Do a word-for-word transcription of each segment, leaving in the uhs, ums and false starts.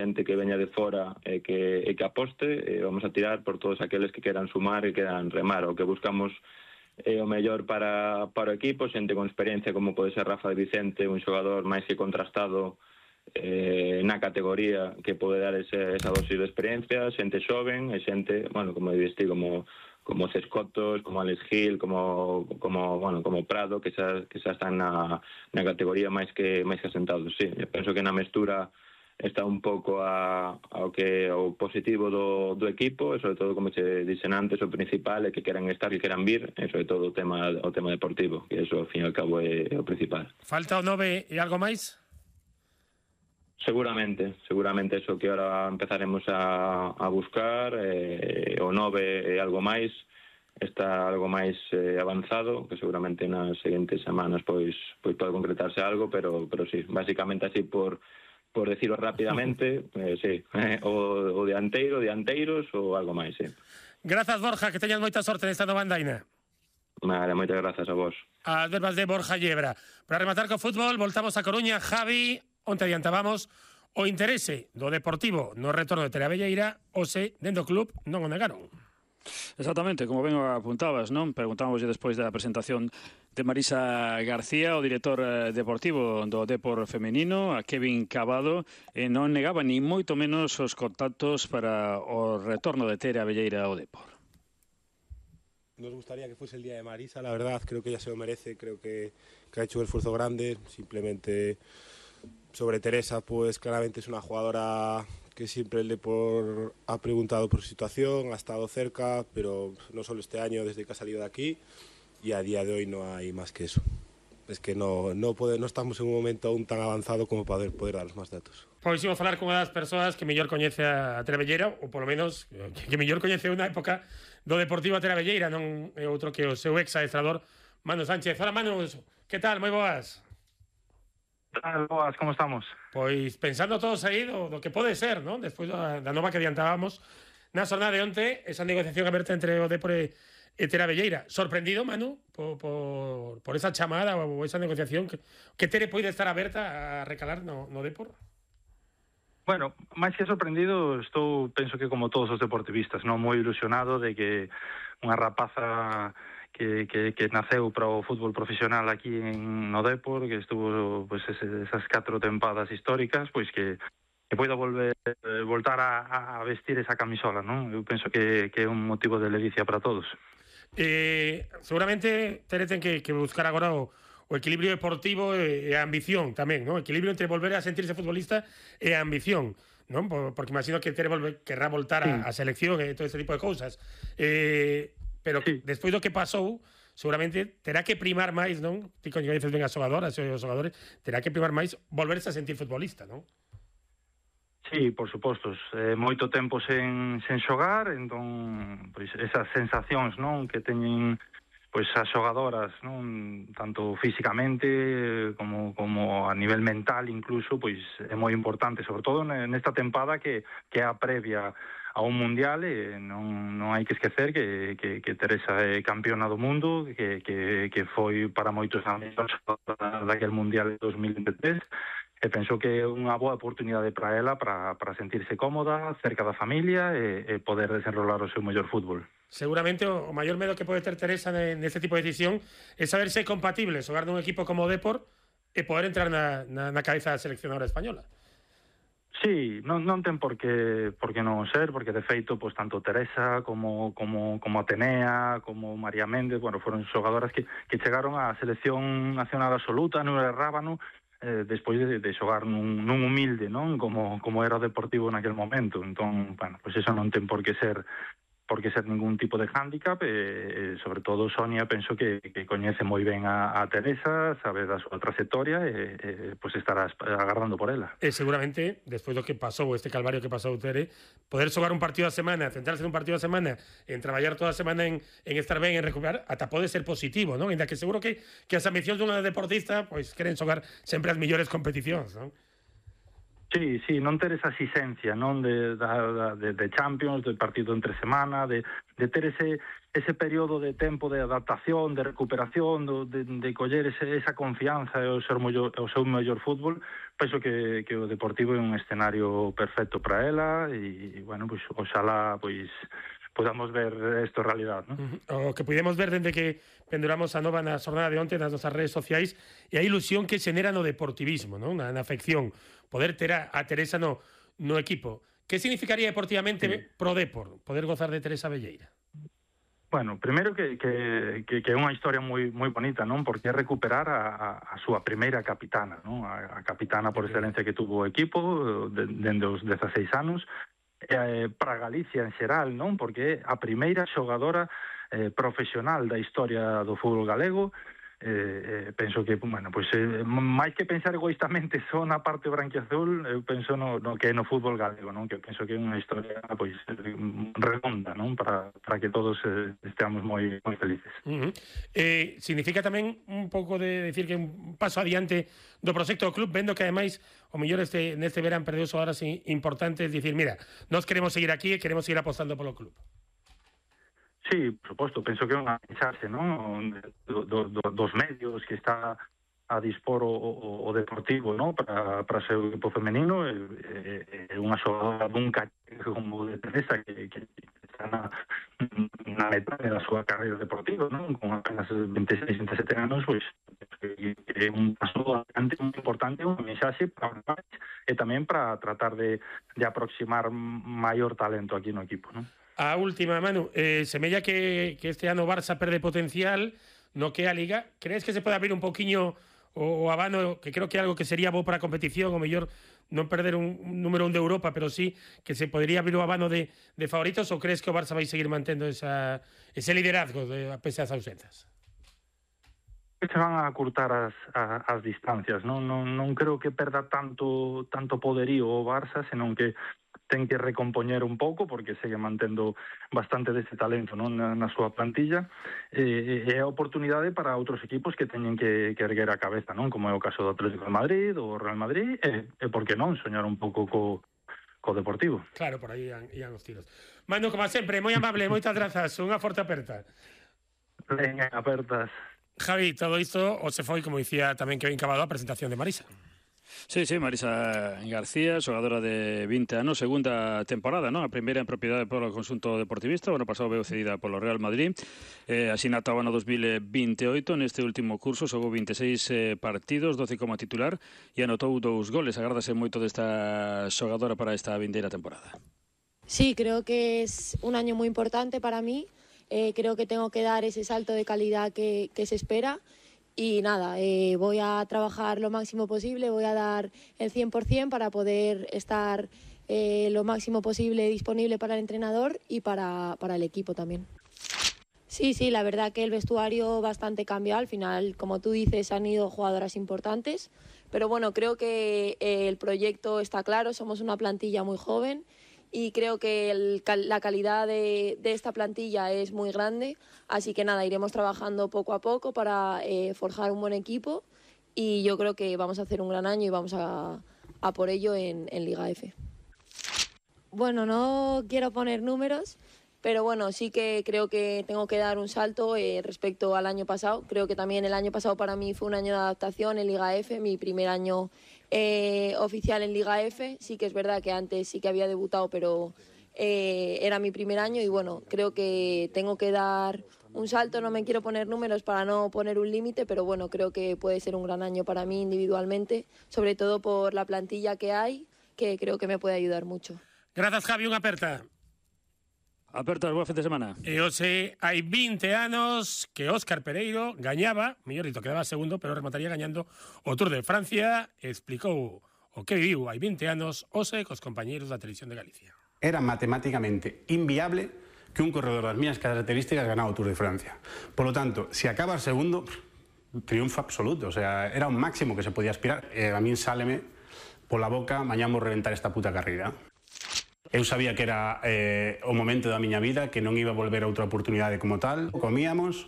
xente que veña de fora e que, e que aposte, e vamos a tirar por todos aqueles que queran sumar e queran remar. O que buscamos é o mellor para, para o equipo, xente con experiencia como pode ser Rafa de Vicente, un xogador máis que contrastado eh, na categoría que pode dar ese, esa dosis de experiencia, xente xoven e xente, bueno, como diste, como como Cescotos, como Alex Gil, como como bueno, como Prado, que xa que xa están na na categoría máis que máis que asentados. Sí, eu penso que na mestura está un pouco a, ao que o positivo do, do equipo e sobre todo, como che dixen antes, o principal é que queran estar, que queran vir e sobre todo o tema o tema deportivo, que eso ao fin e ao cabo é, é o principal. Falta o nove e algo máis? Seguramente, seguramente eso que ahora empezaremos a, a buscar, eh, o nove e algo máis, está algo máis eh, avanzado, que seguramente nas seguintes semanas pois pois pode concretarse algo, pero pero sí, basicamente así por por decirlo rapidamente, eh, sí, eh, o, o dianteiro, dianteiros ou algo máis, sí. Grazas, Borja, que teñas moita sorte nesta nova andaina. Vale, moitas grazas a vos. As verbas de Borja Llebra. Para rematar co fútbol, voltamos a Coruña. Javi, onte adiantábamos o interese do Deportivo no retorno de Tere Abelleira, o se, dentro do club, non o negaron. Exactamente, como ben apuntabas, non? Preguntámoslle despois da presentación de Marisa García, o director deportivo do Depor femenino, a Kevin Cabado, e non negaba ni moito menos os contactos para o retorno de Tere Abelleira ao Depor. Nos gustaría que fuese el día de Marisa, la verdad, creo que ella se lo merece, creo que, que ha hecho un esfuerzo grande, simplemente sobre Teresa, pues claramente es una jugadora que siempre el Depor ha preguntado por su situación, ha estado cerca, pero no solo este año, desde que ha salido de aquí, y a día de hoy no hay más que eso. Es que no, no, puede, no estamos en un momento aún tan avanzado como para poder, poder daros máis datos. Pois imos falar con unha das persoas que mellor coñece a Tere Abelleira, ou polo menos que, que mellor coñece unha época do Deportivo a Tere Abelleira, non é outro que o seu ex-adestrador Manu Sánchez. Hola, Manu, que tal? Moi boas. Tal, boas, como estamos? Pois pensando todos aí do, do que pode ser, non? Despois da, da nova que adiantábamos na xornada de onte, esa negociación aberta entre o Depor e, e Tere Abelleira. Sorprendido, Manu, por, por, por esa chamada ou esa negociación que, que Tere poida estar aberta a recalar no, no Depor? Bueno, máis que sorprendido, estou, penso que como todos os deportivistas, non moi ilusionado de que unha rapaza que, que, que naceu para o fútbol profesional aquí en no Depor, que estuvo pues, esas catro tempadas históricas, pois que, que poida volver voltar a, a vestir esa camisola, non? Eu penso que, que é un motivo de ledicia para todos. Eh, seguramente Tere ten que, que buscar agora o, o equilibrio deportivo e a ambición tamén, non? Equilibrio entre volver a sentirse futbolista e a ambición, non? Porque imagino que Tere volve, querrá voltar a, a selección e todo este tipo de cousas. Eh, pero sí, despois do que pasou, seguramente terá que primar máis, non? Ti coñeces ben as xogadoras e os xogadores, terá que primar máis volverse a sentir futbolista, non? Sí, por suposto, eh, moito tempo sen, sen xogar, entón, pois, esas sensacións, non, que teñen pois as xogadoras, non, tanto físicamente como como a nivel mental incluso, pois é moi importante, sobre todo nesta tempada que que é a previa a un mundial, e non non hai que esquecer que que que Teresa é campeona do mundo, que que que foi para moitos anos daquele mundial de dos mil veintitrés. E penso que é unha boa oportunidade para ela para, para sentirse cómoda, cerca da familia e, e poder desenrolar o seu mellor fútbol. Seguramente o maior medo que pode ter Teresa neste tipo de decisión é saber se é compatible xogar nun equipo como o Depor e poder entrar na, na, na cabeza da seleccionadora española. Sí, non, non ten por que, por que non ser, porque de feito, pues, tanto Teresa como, como, como Atenea, como María Méndez, bueno, foron xogadoras que, que chegaron á selección nacional absoluta, non era Rábano, eh, despois de, de xogar nun, nun humilde, non? Como, como era o Deportivo naquel momento. Entón, bueno, pues eso non ten por que ser por que ser ningún tipo de hándicap, e, sobre todo Sonia penso que, que coñece moi ben a, a Teresa, sabe da súa trayectoria e, e pues estará agardando por ela. E seguramente, despois do que pasou, este calvario que pasou Tere, poder xogar un partido a semana, centrarse en un partido a semana, en traballar toda a semana en, en estar ben, en recuperar, ata pode ser positivo, non? Ainda que seguro que, que as ambicións dunha deportista pois queren xogar sempre as mellores competicións, non? Sí, sí, non ter esa exigencia, non de, de, de Champions, de partido entre semana, de, de ter ese, ese período de tempo de adaptación, de recuperación, de, de coller ese, esa confianza e o, ser mellor, o seu mellor fútbol. Penso que, que o Deportivo é un escenario perfecto para ela e, bueno, pues, oxalá, pois, podamos ver isto en realidad, ¿no? Uh-huh. O que pudemos ver dende que penduramos a nova na xornada de onte nas nosas redes sociais e a ilusión que xenera no deportivismo, ¿no? na, na afección, poder ter a, a Teresa no, no equipo. Que significaría deportivamente sí. pro Depor, poder gozar de Teresa Velleira? Bueno, primeiro que, que, que, que é unha historia moi moi bonita, non? Porque é recuperar a, a, a súa primeira capitana, non? A, a capitana por excelencia que tuvo o equipo de, dende os dezaseis anos, eh, para Galicia en xeral, non? Porque é a primeira xogadora eh, profesional da historia do fútbol galego. Eh, eh, penso que, bueno, pues, eh, máis que pensar egoístamente só na parte branquiazul, eu penso no, no que é no fútbol galego, non? Que penso que é unha historia, pois, redonda, non? Para, para que todos eh, esteamos moi moi felices. Uh-huh. Eh, significa tamén un pouco de decir que un paso adiante do proxecto do club, vendo que ademais o mellor este neste verán perdeu xogadoras importantes, dicir, mira, nós queremos seguir aquí e queremos seguir apostando polo club. Sí, por suposto, penso que é unha mensaxe, non? Do, do, do, dos medios que está a dispor o, o, o Deportivo, non? Para, para ser o equipo femenino, é, é unha xogadora dun caché como de Teresa que, que está na, na metade da súa carreira deportiva, non? Con apenas veintiséis, veintisiete anos, pois que é un paso adiante moi importante, unha mensaxe para e tamén para tratar de, de aproximar maior talento aquí no equipo, non? A última, Manu, eh, semella que, que este ano Barça perde potencial no que a Liga. Crees que se pode abrir un poquinho o, o abano, que creo que é algo que sería bo para a competición, o mellor non perder un, un número un de Europa, pero sí que se podría abrir o abano de, de favoritos, ou crees que o Barça vai seguir mantendo esa, ese liderazgo de, a pesar das ausenzas? Se van a acurtar as, a, as distancias, non? Non, non creo que perda tanto tanto poderío o Barça, senón que ten que recompoñer un pouco, porque segue mantendo bastante deste talento, non? Na, na súa plantilla, e é a oportunidade para outros equipos que teñen que, que erguer a cabeza, non? Como é o caso do Atlético de Madrid, o Real Madrid, e, e por que non, soñar un pouco co, co Deportivo. Claro, por aí ian, ian os tiros. Manu, como sempre, moi amable, moitas grazas, unha forte aperta. Venga, apertas. Javi, todo isto o se foi, como dicía tamén Kevin Cabado, a presentación de Marisa. Sí, sí, Marisa García, xogadora de vinte anos, segunda temporada, non? A primeira en propiedade polo conxunto deportivista, o ano pasado veu cedida polo Real Madrid, eh, asinata o ano dos mil veintioito, neste último curso xogou veintiséis eh, partidos, doce como titular, e anotou dous goles. Agardase moito desta xogadora para esta vindeira temporada. Sí, creo que es un año muy importante para mí, eh, creo que tengo que dar ese salto de calidad que, que se espera. Y nada, eh, voy a trabajar lo máximo posible, voy a dar el cien por cien para poder estar eh, lo máximo posible disponible para el entrenador y para, para el equipo también. Sí, sí, la verdad que el vestuario bastante cambió. Al final, como tú dices, han ido jugadoras importantes. Pero bueno, creo que eh, el proyecto está claro, somos una plantilla muy joven. Y creo que el, la calidad de, de esta plantilla es muy grande, así que nada, iremos trabajando poco a poco para eh, forjar un buen equipo y yo creo que vamos a hacer un gran año y vamos a, a por ello en, en Liga F. Bueno, no quiero poner números, pero bueno, sí que creo que tengo que dar un salto eh, respecto al año pasado. Creo que también el año pasado para mí fue un año de adaptación en Liga F, mi primer año Eh, oficial en Liga F. Sí que es verdad que antes sí que había debutado, pero eh, era mi primer año y bueno, creo que tengo que dar un salto. No me quiero poner números para no poner un límite, pero bueno, creo que puede ser un gran año para mí individualmente, sobre todo por la plantilla que hay, que creo que me puede ayudar mucho. Gracias, Javi, unha aperta. Apertas, boa fin de semana. E hoxe hai vinte anos que Óscar Pereiro gañaba, mellor dito, quedaba segundo, pero remataría gañando o Tour de Francia. Explicou o que viviu hai vinte anos hoxe cos compañeiros da Televisión de Galicia. Era matemáticamente inviable que un corredor das mías características ganara o Tour de Francia. Por lo tanto, se acaba segundo, triunfo absoluto. O sea, era un máximo que se podía aspirar. E a min sáleme pola boca, mañá vou reventar esta puta carreira. Eu sabía que era eh, o momento da miña vida, que non iba a volver a outra oportunidade como tal. Comíamos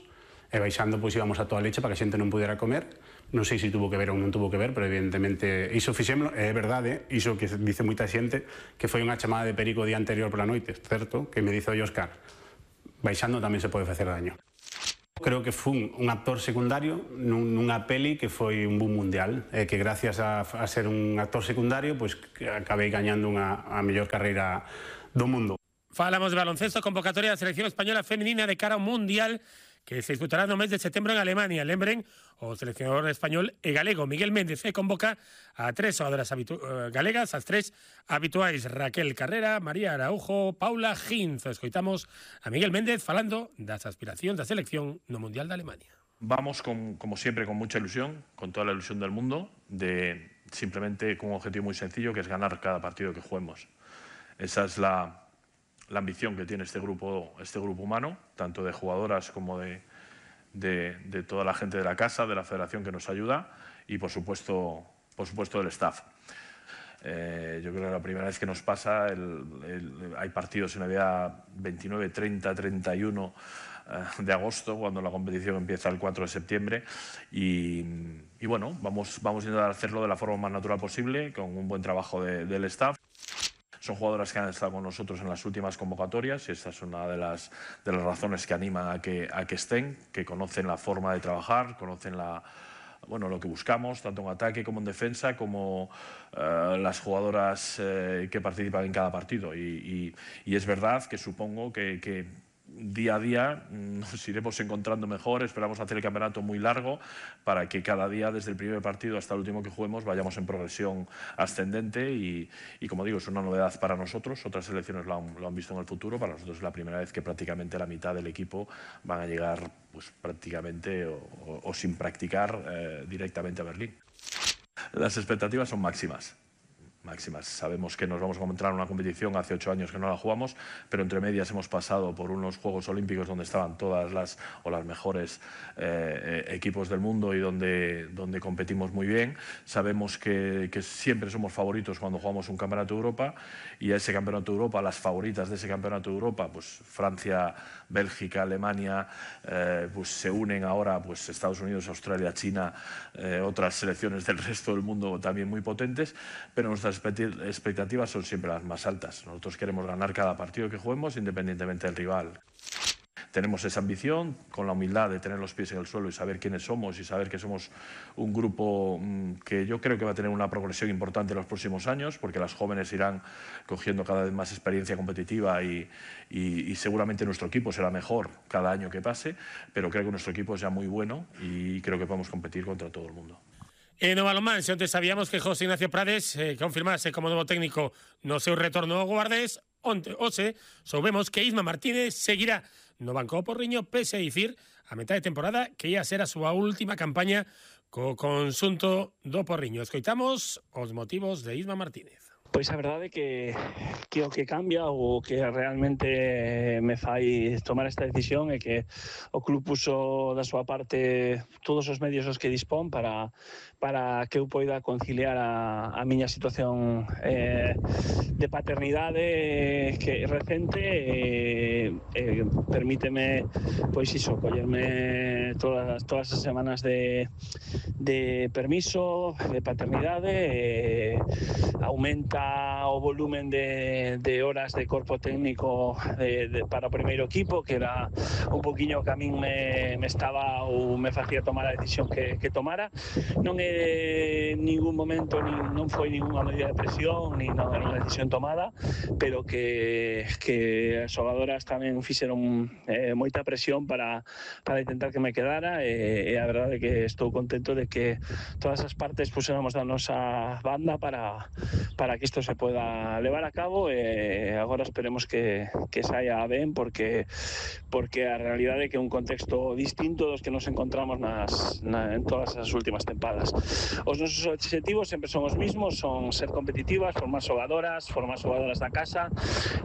e baixando pois íbamos a toda leche para que a xente non pudera comer, non sei se tuvo que ver ou non tuvo que ver, pero evidentemente iso fixémolo, é verdade, iso que dice moita xente, que foi unha chamada de perico o día anterior pola noite, certo, que me dice o Óscar, baixando tamén se pode facer daño. Creo que fun un actor secundario nunha peli que foi un boom mundial, e que gracias a, a ser un actor secundario, pois pues, acabei gañando unha, a mellor carreira do mundo. Falamos de baloncesto, convocatoria da selección española femenina de cara ao Mundial que se disputará no mes de setembro en Alemania. Lembren, o seleccionador español e galego Miguel Méndez se convoca a tres xogadoras galegas, as tres habituais, Raquel Carrera, María Araujo, Paula Ginz. Escoitamos a Miguel Méndez falando das aspiracións da selección no Mundial de Alemania. Vamos, con, como siempre, con mucha ilusión, con toda la ilusión del mundo, de simplemente con un objetivo muy sencillo, que es ganar cada partido que juguemos. Esa es la... la ambición que tiene este grupo, este grupo humano, tanto de jugadoras como de, de, de toda la gente de la casa, de la federación que nos ayuda y, por supuesto, por supuesto del staff. Eh, yo creo que la primera vez que nos pasa, el, el, hay partidos en Navidad veintinueve, treinta, treinta y uno eh, de agosto, cuando la competición empieza el cuatro de septiembre. Y, y bueno, vamos, vamos a intentar hacerlo de la forma más natural posible, con un buen trabajo de, del staff. Son jugadoras que han estado con nosotros en las últimas convocatorias y esta es una de las, de las razones que animan a que, a que estén, que conocen la forma de trabajar, conocen la, bueno, lo que buscamos, tanto en ataque como en defensa, como uh, las jugadoras uh, que participan en cada partido. Y, y, y es verdad que supongo que, que día a día nos iremos encontrando mejor. Esperamos hacer el campeonato muy largo para que cada día, desde el primer partido hasta el último que juguemos, vayamos en progresión ascendente y, y como digo, es una novedad para nosotros. Otras selecciones lo han, lo han visto en el futuro. Para nosotros es la primera vez que prácticamente la mitad del equipo van a llegar pues, prácticamente o, o, o sin practicar eh, directamente a Berlín. Las expectativas son máximas. máximas. Sabemos que nos vamos a encontrar en una competición, hace ocho años que no la jugamos, pero entre medias hemos pasado por unos Juegos Olímpicos donde estaban todas las o las mejores eh, equipos del mundo y donde, donde competimos muy bien. Sabemos que, que siempre somos favoritos cuando jugamos un Campeonato de Europa y a ese Campeonato de Europa, las favoritas de ese Campeonato de Europa, pues Francia, Bélgica, Alemania, eh, pues se unen ahora pues Estados Unidos, Australia, China, eh, otras selecciones del resto del mundo también muy potentes, pero nuestras expectativas son siempre las más altas. Nosotros queremos ganar cada partido que juguemos independientemente del rival. Tenemos esa ambición, con la humildad de tener los pies en el suelo y saber quiénes somos y saber que somos un grupo mmm, que yo creo que va a tener una progresión importante en los próximos años, porque las jóvenes irán cogiendo cada vez más experiencia competitiva y, y, y seguramente nuestro equipo será mejor cada año que pase, pero creo que nuestro equipo es ya muy bueno y creo que podemos competir contra todo el mundo. E no balonmán, se onte sabíamos que José Ignacio Prades eh, confirmase como novo técnico no seu retorno ao Guardés, onte, hoxe, soubemos que Isma Martínez seguirá no banco do Porriño, pese a dicir a metade de temporada que ia ser a súa última campaña co conxunto do Porriño. Escoitamos os motivos de Isma Martínez. Pois a verdade é que, que o que cambia ou que realmente me fai tomar esta decisión é que o club puso da súa parte todos os medios os que dispón para, para que eu poida conciliar a, a miña situación eh, de paternidade que recente e eh, permíteme pois iso, collerme todas, todas as semanas de, de permiso, de paternidade e aumenta o volumen de, de horas de corpo técnico de, de, para o primeiro equipo, que era un poquinho que a min me, me estaba ou me facía tomar a decisión que, que tomara. Non é ningún momento, ni, non foi ninguna medida de presión, ni non era unha decisión tomada, pero que, que as xogadoras tamén fixeron eh, moita presión para, para intentar que me quedara e, e a verdade é que estou contento de que todas as partes puséramos da nosa banda para, para que isto se pueda levar a cabo e agora esperemos que, que saia ben porque porque a realidade é que é un contexto distinto dos que nos encontramos nas, na, en todas as últimas tempadas. Os nosos objetivos sempre son os mismos, son ser competitivas, formar xogadoras, formar xogadoras da casa,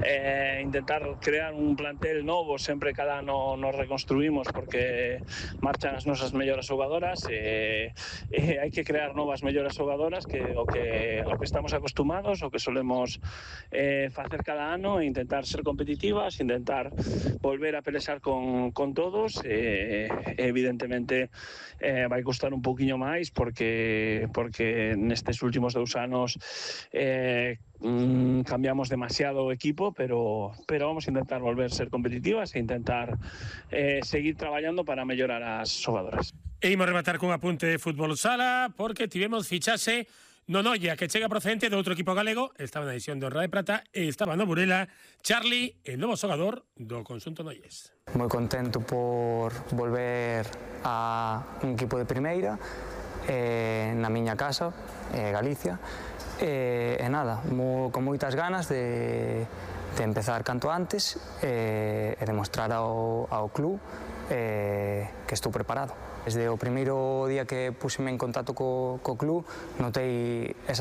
eh, intentar crear un plantel novo, sempre cada ano nos reconstruímos porque marchan as nosas mellores xogadoras e, e hai que crear novas mellores xogadoras que o que, o que estamos acostumados facemos, o que solemos eh, facer cada ano, intentar ser competitivas, intentar volver a pelexar con, con todos. Eh, evidentemente eh, vai costar un pouquiño máis porque, porque nestes últimos dous anos eh, mm, cambiamos demasiado o equipo, pero, pero vamos a intentar volver a ser competitivas e intentar eh, seguir traballando para mellorar as xogadoras. E imos rematar cun apunte de fútbol sala, porque tivemos fichase no Noia, que chega procedente de outro equipo galego, estaba na edición de Honra de Prata, e estaba no Burela, Charlie, el novo xogador do conxunto noies. Moi contento por volver a un equipo de primeira, eh, na miña casa, eh, Galicia, e, e nada, mo, con moitas ganas de, de empezar canto antes e, e demostrar ao, ao club eh, que estou preparado. Desde o primeiro día que puseme en contacto co, co club notei esa